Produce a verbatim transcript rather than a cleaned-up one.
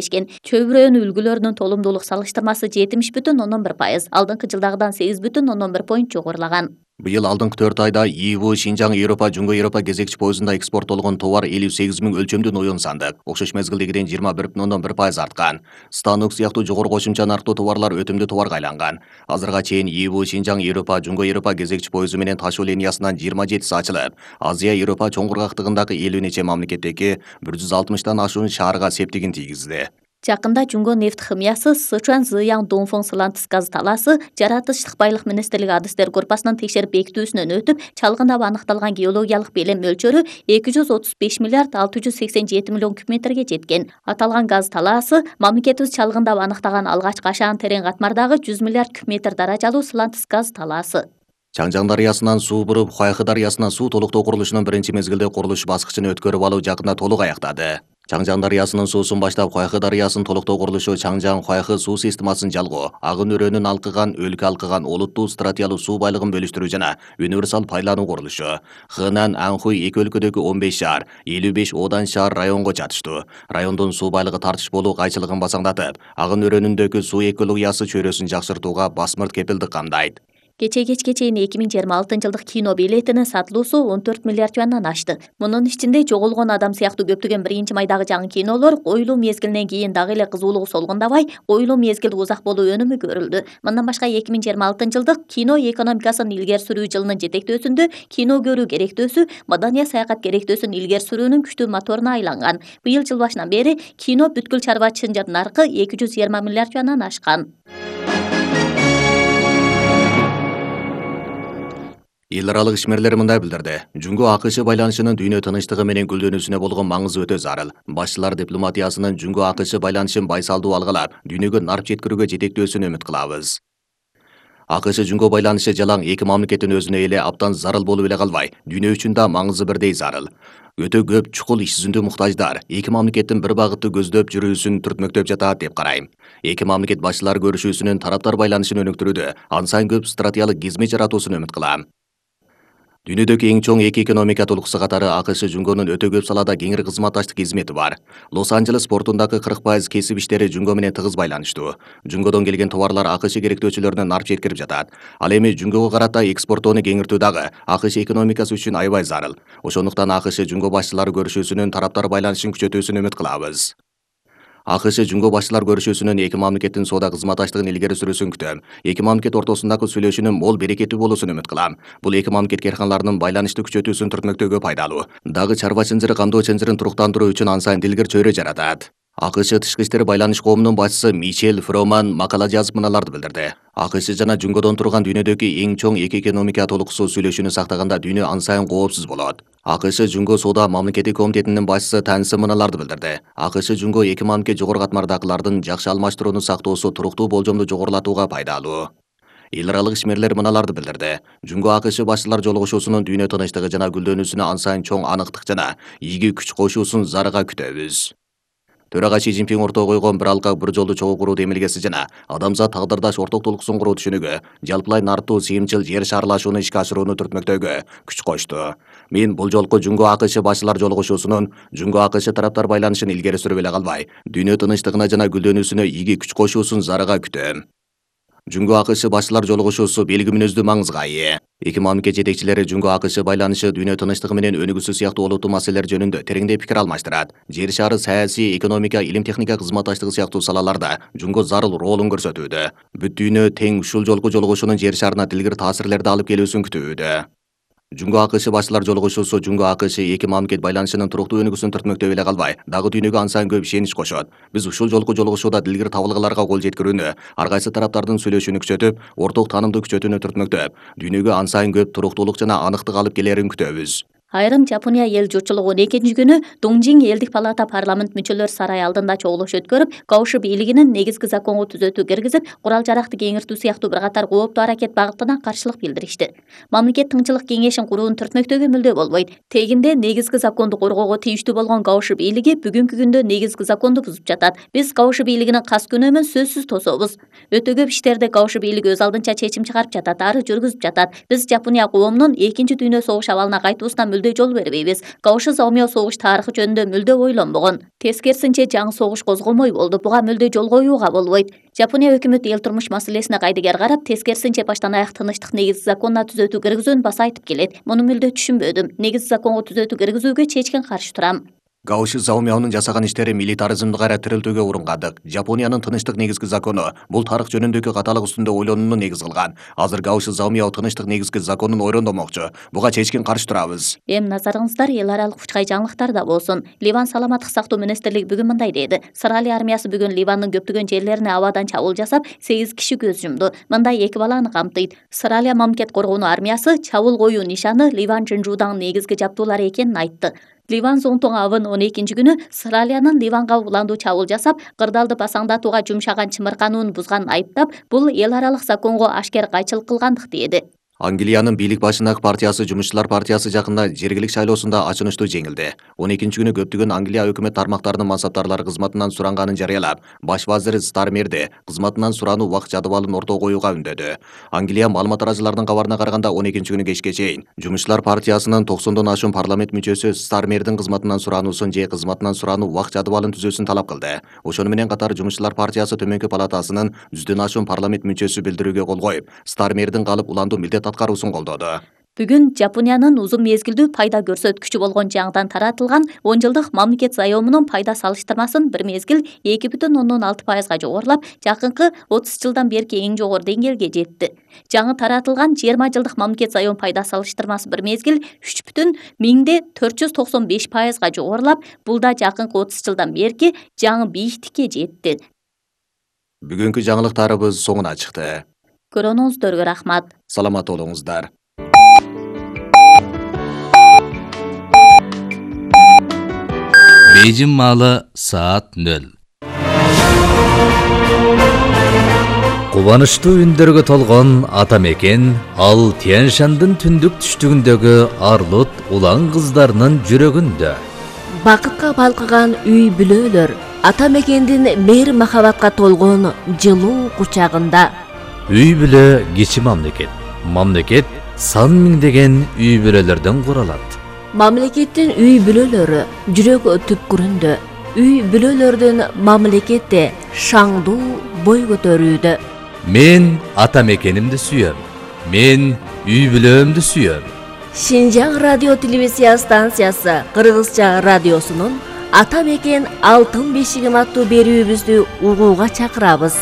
Чөйрөнүн үлгүлөрүнүн толумдуулук салыштырмасы жетимиш бүтүн ондон бир пайыз, алдыңкы жылдагыдан сегиз бүтүн ондон бир поинт жогорулаган. Быйыл алдыңкы төрт айда ИИБ Шинжаң Европа Жуңго Европа кезекчи поездунда экспорттолгон товар элүү сегиз миң өлчөмдүү ноюн сандык, окшош мезгилдегиден жыйырма бир бүтүн ондон бир пайыз арткан. Станок сыяктуу жогору кошумча нарктуу товарлар өтүмдүү товарга айланган. Азырга чейин ИИБ Шинжаң Европа Жуңго Европа кезекчи поезду менен ташуу линиясынан жыйырма жетиси ачылып, Азия Европа чоң кургактыгындагы элүү нече мамлекеттеги бир жүз алтымыштан ашуун шаарга септигин тийгизди. Жакында Жуңго нефт химиясы Сычуан Зыяң Донфон Сылантыс газ талаасы жаратылыштык байлык министрлиги адыстер группасынын текшерип бекитүүсүнөн өтүп, чалгындап аныкталган геологиялык белем мөлчөрү эки жүз отуз беш миллиард алты жүз сексен жети миллион кубметрге жеткен. Аталган газ талаасы мамлекетибиз чалгындап аныктаган алгачкы ашаан терең катмардагы жүз миллиард кубметр даражалуу Сылантыс газ талаасы. Чаңжаң дарыясынан суу буруп, Хуайхы дарыясына суу толуктоо курулушунун биринчи мезгилде курулуш баскычын өткөрүп алуу жакында толук аяктады. Чаңжаң дарыясынын суусун баштап Хуайхы дарыясын толуктоо курулушу Чаңжаң Хуайхы суу системасын жалгоо, агын өрөөнүн алкыган, өлкө алкыган олуттуу стратиялуу суу байлыгын бөлүштүрүү жана универсал пайдалануу курулушу. Хынан, Анхуй эки өлкөдөгү он беш шаар, элүү беш одан шаар районго жатыштуу. Райондун суу байлыгы тартышполуу кайчылыгын басаңдатып, агын өрөөнүндөгү суу экологиясы чөйрөсүн жакшыртууга басмырт кепилдик камдайт. Кечээ кечке чейин эки миң жыйырма алтынчы жылдык кино билетинин сатылуусу он төрт миллиард юандан ашты. Мунун ичинде жоголгон адам сыяктуу көптөгөн биринчи майдагы жаңы кинолор коюлуу мезгилинен кийин дагы эле кызуулугу солгундабай, коюлуу мезгил узак болуу өнүмү көрүлдү. Мындан башка эки миң жыйырма алтынчы жылдык кино экономикасын илгери сүрүү жылынын жетектөөсүндө кино көрүү керектөөсү маданий саякат керектөөсүн илгери сүрүүнүн күчтүү моторуна айланган. Быйыл жыл башынан бери кино бүткүл чарбачылык наркы эки жүз жыйырма миллиард юандан ашкан. Эл аралык ишмерлер мындай билдирди. Жуңго АКШ байланышынын дүйнө тынычтыгы менен гүлдөнүүсүнө болгон маңызы өтө зарыл. Башчылар дипломатиясынын Жуңго АКШ байланышын байсалдуу алгылап, дүйнөгө нарп жеткирүүгө жетектөөсүн үмүт кылабыз. АКШ Жуңго байланышы жалаң эки мамлекеттин өзүнө эле абдан зарыл болуп эле калбай, дүйнө үчүн да маңызы бирдей зарыл. Өтө көп чукул иш жүзүндө муктаждар эки мамлекеттин бир багытты көздөп жүрүүсүн түртмөктөп жатат деп карайм. Эки мамлекет башчылары көрүшүүсүнүн тараптар байланышын өнүктүрүүдө ансан көп стратегиялык кизмет жаратуусун үмүт кылам. Дүйнөдөгү эң чоң эки экономика толукусу катары АКШ Жуңгонун өтө көп салада кеңири кызматташтык кизмети бар. Лос-Анджелес портундагы кырк пайыз кесип иштери Жуңго менен тыгыз байланыштуу. Жуңгодон келген товарлар АКШ керектөөчүлөрүнө нарп жеткирип жатат. Ал эми Жуңгого карата экспорттоону кеңиртүү дагы АКШ экономикасы үчүн аябай зарыл. Ошондуктан АКШ Жуңго башчылары көрүшүүсүнүн тараптар байланышын күчөтүүсүн үмүт кылабыз. АКШ Жуңго башчылар көрүшүүсүнүн эки мамлекеттин соода кызматташтыгын илгери сүрүүсүн күтөм. Эки мамлекет ортосундагы сүйлөшүүнүн мол берекеттүү болуусун үмүт кылам. Бул эки мамлекет карканаларынын байланышты күчөтүүсүн түртмөктөөгө пайдалуу. Дагы чарба чынжыры камдоо чынжырын туруктандыруу үчүн ансан дилгир чөйрө жаратат. АКШ тышкы иштер байланыш коомунун башчысы Мишель Фроман макала жазып мыналарды билдирди. АКШ жана Жуңгодон турган дүйнөдөгү эң чоң эки экономика толукусу сүйлөшүүнү сактаганда дүйнө ансайын коопсуз болот. АКШ Жуңго соода мамлекеттик комитетинин башчысы Тансы мыналарды билдирди. АКШ Жуңго эки мамлекет жогору катмардагылардын жакшы алмаштырууну сактоосу туруктуу болжомду жогорулатууга пайдалуу. Эл аралык ишмерлер мыналарды билдирди. Жуңго АКШ башчылар жолугушуусунун дүйнө тынычтыгы жана гүлдөнүүсүнө ансайын чоң аныктык жана ийги күч кошуусун зарыга күтөбүз. Төрага Си Цзиньпин ортого койгон бир алкак бир жолду чогуу куруу демилгеси жана адамзат тагдырдаш орток толуксун куруу түшүнүгү жалпылай нарттуу сыйымчыл жер шаарлашууну ишке ашырууну түртмөктөөгө күч кошту. Мен бул жолку Жуңго АКШ башчылар жолугушуусунун Жуңго АКШ тараптар байланышын илгери сүрүп эле калбай, дүйнө тынычтыгына жана гүлдөнүүсүнө ийги күч кошуусун зарыга күтөм. Жуңго АКШ башчылар жолугушуусу белги мүнөздүү маңызга ээ. Эки мамлекет жетекчилери Жуңго АКШ байланышы дүйнө тынычтыгы менен өнүгүүсү сыяктуу олуттуу маселелер жөнүндө тереңдей пикир алмаштырат. Жер шаары саясий, экономика, илим техника кызматташтыгы сыяктуу салаларда Жуңго зарыл ролун көрсөтүүдө. Бүт дүйнө тең ушул жолку жолугушуунун жер шаарына дилгир таасирлерди алып келүүсүн күтүүдө. Жуңго АКШ башчылар жолугушуусу Жуңго АКШ эки мамлекет байланышынын туруктуу өнүгүүсүн түртмөктөп эле калбай, дагы дүйнөгө ансан көп ишенич кошот. Биз ушул жолку жолугушууда дилгир табылгаларга кол жеткирүүнү, ар кайсы тараптардын сүйлөшүүнү күчөтүп, орток таанымды күчөтүүнү түртмөктөп, дүйнөгө ансан көп туруктуулук жана аныктык алып келерин күтөбүз. Айрым Жапония эл журтчулугу он экинчи күнү Доңжиң элдик палата парламент мүчөлөр сарай алдында чогулуш өткөрүп, Кауши бийлигинин негизги законго түзөтүү киргизип, курал жаракты кеңиртүү сыяктуу бир катар кооптуу аракет багытына каршылык билдиришти. Мамлекет тыңчылык кеңешин курууну түртмөктөөгө мүлдө болбойт. Тегинде негизги законду коргоого тийиштүү болгон Кауши бийлиги бүгүнкү күндө негизги законду бузуп жатат. Биз Кауши бийлигинин кас күнөөмөн сөзсүз тособуз. Өтө көп иштерди Кауши бийлиги өз алдынча чечим чыгарып жатат, ары жүргүзүп жатат. Биз Жапония коомунун экинчи дүйнө согуш абалына кайтуусунан мүлдө жол бербейбиз. Каоши Заомяо согуш тарыхы жөнүндө мүлдө ойлонбогон. Тескерисинче жаңы согуш козгомой болду. Буга мүлдө жол коюуга болбойт. Жапония өкмөтү эл турмуш маселесине кайдыгер карап, тескерисинче баштан аяк тынычтык негиз законуна түзөтүү киргизүүнү баса айтып келет. Муну мүлдө түшүнбөдүм. Негиз законго түзөтүү киргизүүгө чечкен каршы турам. Каоши Заомяонун жасаган иштери милитаризмди кайра тирилтүүгө урунгандык. Жапониянын тынычтык негизги закону бул тарых жөнүндөгү каталык үстүндө ойлонууну негиз кылган. Азыр Каоши Заомяо тынычтык негизги законун ойрондомокчу. Буга чечкен каршы турабыз. Эми назарыңыздар эл аралык учкай жаңылыктарда болсун. Ливан саламаттык сактоо министрлиги бүгүн мындай деди. Сыралия армиясы бүгүн Ливандын көптөгөн жерлерине абадан чабуул жасап, сегиз киши көз жумду. Мындай эки баланы камтыйт. Сыралия мамлекет коргонуу армиясы чабуул коюу нишаны Ливан Жынжуудагы негизги жабдуулары экенин айтты. Ливан зонтоң авын он экинчи күнү Сыралиянын Ливанга уландуу чабуул жасап, кырдаалды басаңдатууга жумшаган чымыркануун бузганын айыптап, бул эл аралык законго ашкер кайчылык кылгандык деди. Англиянын бийлик башындагы партиясы Жумушчулар партиясы жакында жергилик шайлоосунда ачынычтуу жеңилди. он экинчи күнү көптөгөн Англия өкмөт тармактарынын мансаптарлары кызматынан суранганын жарыялап, баш вазири Стармерди кызматынан сурануу убакыт жадыбалын ортого коюуга үндөдү. Англия маалымат арачыларынын кабарына караганда он экинчи күнү кечке чейин Жумушчулар партиясынын токсондон ашуун парламент мүчөсү Стармердин кызматынан сурануусун же кызматынан сурануу убакыт жадыбалын түзүүсүн талап кылды. Ошону менен катар Жумушчулар партиясы Төмөнкү палатасынын жүздөн ашуун парламент мүчөсү билдирүүгө кол коюп, Стармердин калып уландуу милдет аткаруусун колдоду. Бүгүн Жапониянын узун мезгилдүү пайда көрсөткүчү болгон жаңыдан таратылган он жылдык мамлекет заёмунун пайда салыштырмасын бир мезгил эки бүтүн ондон алты пайызга жогорулап, жакынкы отуз жылдан берки эң жогору деңгээлге жетти. Жаңы таратылган жыйырма жылдык мамлекет заём пайда салыштырмасы бир мезгил үч бүтүн миңде төрт жүз токсон беш пайызга жогорулап, бул да жакынкы отуз жылдан берки жаңы бийиктикке жетти. Бүгүнкү жаңылыктарыбыз соңуна чыкты. Көргөнүңүздөргө рахмат. Саламат болуңуздар. Бейжин маалы саат нөл. Кубанычтуу үндөргө толгон ата мекен ал Тянь-Шандын түндүк түштүгүндөгү Арлут улан кыздарынын жүрөгүндө. Бакытка балкыган үй бүлөлөр ата мекендин мейир махабатка толгон жылуу кучагында. Үй бүлө кичи мамлекет. Мамлекет сан миңдеген үй бүлөлөрдөн куралат. Мамлекеттин үй бүлөлөрү жүрөк түпкүрүндө. Үй бүлөлөрдүн мамлекетте шаңдуу бой көтөрүүдө. Мен ата мекенимди сүйөм. Мен үй бүлөмдү сүйөм. Шинжаң радио телевизия станциясы Кыргызча радиосунун Ата мекен алтын бешигим аттуу берүүбүздү угууга чакырабыз.